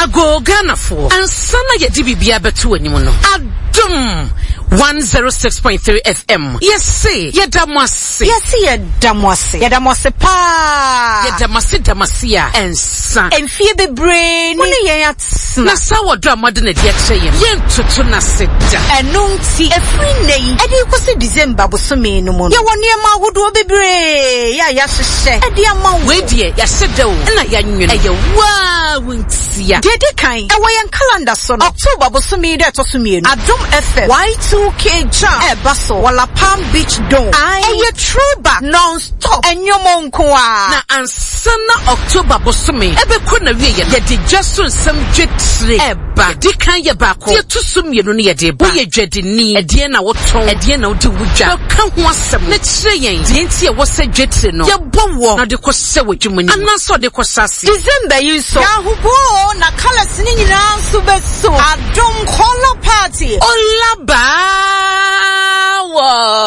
Agoo Ghanafoɔ, ansa na yɛde biribiara bɛto w'anim no, Adom 106.3 FM, yɛse yɛda mo ase. Yɛse yɛda mo ase. Yɛda mo ase paa. Yɛda mo ase da mo ase a ɛnsa. Mfie bebree ni. Mo ne yɛn atena. Na saa ɔdɔ a moade no adi akyerɛ yɛn no, yɛntoto no ase da. Ɛno nti, ɛfiri nnɛ yi de rekɔsi December bosome no mu no, yɛwɔ nneɛma ahodoɔ bebree a yɛahyehyɛ de ama wo. Wei deɛ, yɛahyɛ da o, ɛna yɛanwene. Ɛyɛ wo ara wo ntia. Deɛ ɛdi kan, ɛwɔ yɛn calendar so no, October bosome yi da ɛtɔ so mmienu, Adom FM Y2K Jam ɛreba so wɔ La Palm Beach Dome. Ae, ɛyɛ throwback, non-stop, nnwom nko ara. Na ansa na October bosome ɛbɛkɔ n'awieɛ no, yɛde dwa so nsɛm dwetire ɛreba. Deɛ ɛdi kan yɛ baako, deɛ ɛto so mmienu no yɛde reba. Woyɛ dwadini, ɛdeɛn na wotɔn, ɛdeɛn na wode wo dwa? Bɛka ho asɛm na kyerɛ yɛn deɛ nti a ɛwɔ sɛ dwetire no yɛbɔ woɔ na wode kɔhyɛ w'adwuma no mu anaasɛ wode kɔhyɛ aseɛ. December yi nso, yɛ ahoboa o, na colours no nyinaa nso bɛso. Adom Colour Party. Ola baa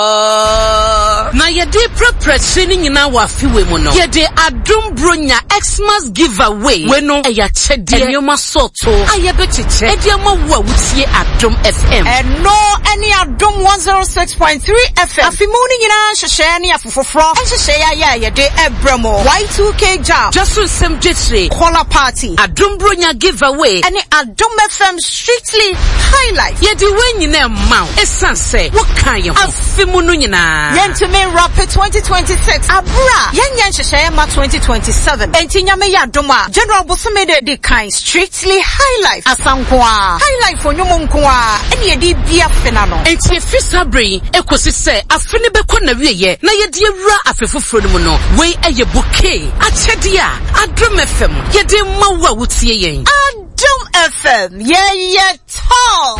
wɔ. Na yɛde reprapra akyire no nyinaa wɔ afe wei mu no, yɛde Adom Bronya Xmas Giveaway. Wei no, ɛyɛ akyɛdeɛ, nneɛma sɔɔtoo a yɛbɛkyekyɛ de ama wo a wotie Adom FM. Ɛno ne Adom 106.3 FM afe mu no nyinaa nhyehyɛɛ ne afe foforɔ nhyehyɛɛ ayɛ a yɛde rebrɛ mo. Y2K Jam. Dwa so nsɛm dwetire. Caller Party. Adom Bronya Giveaway. Ɛne Adom FM Strictly Highlife. Yɛde wei nyinaa rema wo ɛsiane sɛ wokaa yɛn ho afe mu no nyinaa. Yɛntumi nrape 2026 aberɛ a yɛnyɛ nhyehyɛeɛ mma 2027. Enti Nyame yɛ adom a, January bosome da ɛdi kan, Strictly Highlife asa nko ara, Highlife nnwom nko ara ɛne yɛde redi afe no ano. Enti ɛfiri saa berɛ yi kɔsi sɛ afe no bɛkɔ n'awieɛ na yɛde awura afe foforɔ no mu no, wei yɛ bouquet akyɛdeɛ a Adom FM yɛde rema wo a wotie yɛn. Adom FM, yɛyɛ tall!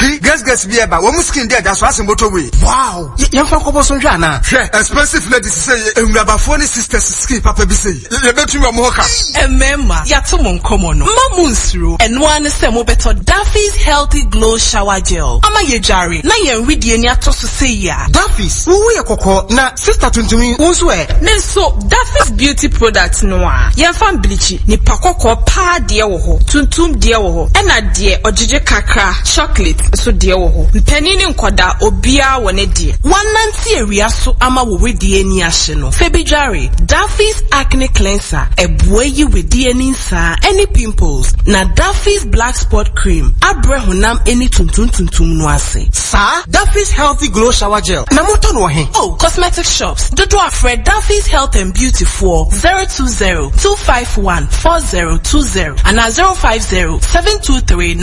Ki, girls girls bi ɛba, wɔn skin deɛ da so asen bɔtɔ wei. Wow! Yɛmfa nkɔbɔ so nhwɛ anaa? Hwɛ, expensive ladies sɛ yɛ, nwurabafoɔ ne sisters skin papa bi sei, yɛbɛtumi wɔn ho ka. Mmarima, yɛato mo nkɔmmɔ no. Mma mo nsuro. Ɛno ara ne sɛ mobɛtɔ Daffy's Healthy Glow Shower Gel ama yɛadware na yɛn wedeɛ ani atɔ so sei a. Daffy's, wo ho yɛ kɔkɔɔ na sister tuntum yi, wo nso ɛ? Me nso, Daffy's Beauty Products no a yɛmfa mblikyi, nipa kɔkɔɔ paa deɛ wɔ hɔ, tuntum deɛ wɔ hɔ, ɛna deɛ ɔgyegye kakra, chocolate, nso deɛ wɔ hɔ. Mpanin ne nkwadaa, obiara wɔ ne deɛ. Woanante awia so ama wo wedeɛ ani ahye no, fa bi dware. Daffy's Acne Cleanser, ɛboa yi wedeɛ ani nsaa ɛne pimples, na Daffy's Black Spot Cream abrɛ honam ani tuntum tuntum no ase. Saa Daffy's Healthy Glow Shower Gel na motɔ no wɔ he? Oh, cosmetic shops dodoɔ a frɛ Daffy's Health and Beauty foɔ 020 251 4020 anaa 050 723 9.